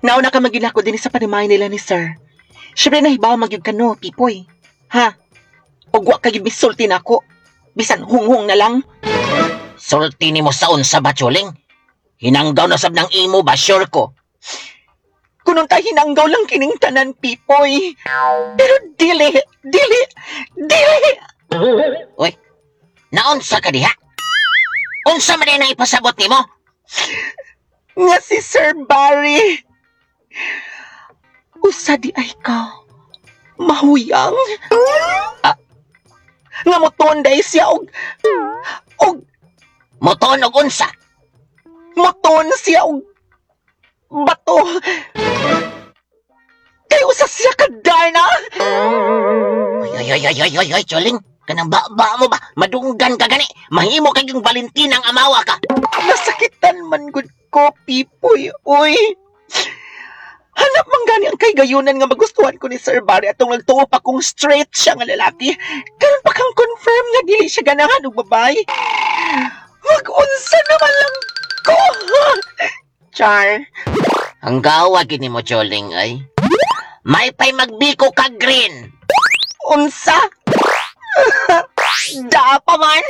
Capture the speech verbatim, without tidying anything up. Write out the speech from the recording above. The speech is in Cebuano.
Nauna ka magyud nako dinhi sa panimalay nila ni sir. Syempre nahibaw magyud ka no, Pipoy. Ha? Ug wa ka gyud misulti nako. Bisan hunghong na lang. Sulti nimo sa unsa ba, Choling? Hinanggaw na sab ng imo ba, sure ko. Kunon ta hinanggaw lang kining tanan, Pipoy. Pero dili, dili, dili. Uy, naunsa ka diha? Unsa man ang ipasabot nimo? Nga si Sir Barry. Usa diay ka. Mahuyang. Ah. Nga motuon diay siya og og Motuon og unsa? Motuon siya og bato. Kay usa siya ka Darna. Ay, ay, ay, ay, ay, ay, Choling. Kanang ba, ba mo ba? Madunggan ka gani. Mahimo kay yung Valentina ang amawa ka. Nasakitan man gud ko, Pipoy. Uy. Hanap man gani ang kahigayunan nga magustuhan ko ni Sir Barry atong nagtuo pa kung straight siya nga lalaki. Karon pa kang confirm nga dili siya ganahan og babae. Mag-unsa naman lang ko. Char. Ang gawa gini mo, Choling, ay. May pay magbiko ka green. Unsa? Da pa man.